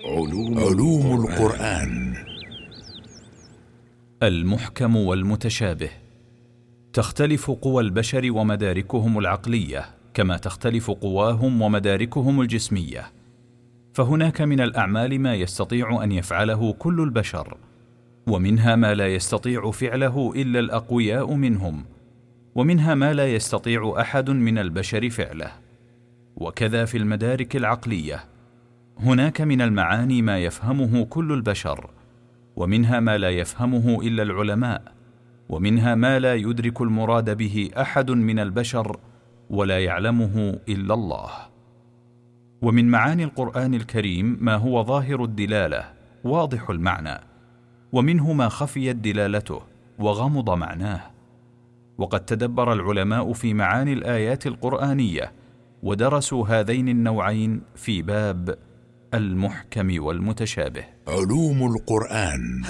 علوم القرآن. المحكم والمتشابه. تختلف قوى البشر ومداركهم العقلية كما تختلف قواهم ومداركهم الجسمية، فهناك من الأعمال ما يستطيع أن يفعله كل البشر، ومنها ما لا يستطيع فعله إلا الأقوياء منهم، ومنها ما لا يستطيع أحد من البشر فعله. وكذا في المدارك العقلية، هناك من المعاني ما يفهمه كل البشر، ومنها ما لا يفهمه إلا العلماء، ومنها ما لا يدرك المراد به أحد من البشر ولا يعلمه إلا الله. ومن معاني القرآن الكريم ما هو ظاهر الدلالة واضح المعنى، ومنه ما خفيت دلالته وغمض معناه. وقد تدبر العلماء في معاني الآيات القرآنية ودرسوا هذين النوعين في باب المحكم والمتشابه. علوم القرآن.